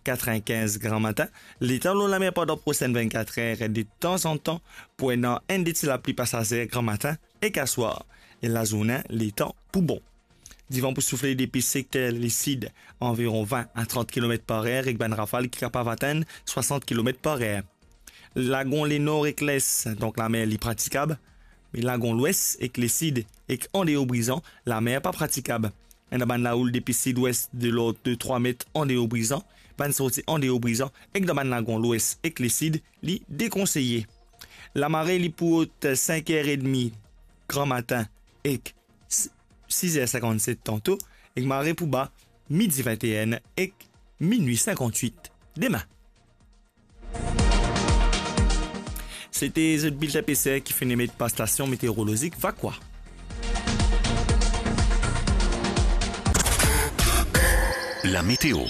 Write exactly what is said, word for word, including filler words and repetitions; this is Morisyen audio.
katrevinkinz gramatin. Letan lor lamer pandan prosenn vennkat er, de tanzantan pou ena enn de ti lapli pasazer gramatin ek aswar. E lazourne, letan pou bon. Divan pou soufle depi sekter lesid, anviron vin a trant kilomet par er, ek bann rafal ki kapav atenn swasant kilomet par er. Lagon lenor ek les, donk lamer li pratikab, me lagon lwes ek lesid ek andeor Brizan, lamer pa pratikab. Ena bann laoul depi sidwes de lord de trwa met andeor Brizan, bann sorti andeor Brizan, ek dan bann lagon lwes ek lesid, li dekonseye. Lamare li pou rod sink er edmi gramatin ek s-, sis er sinkannset tanto, ek mare pou ba midi vennteen ek minwi sinkantwit demin. Sete zot bilten peser ki finn emet par stasion meteorolozik Vakwa. Lameteo.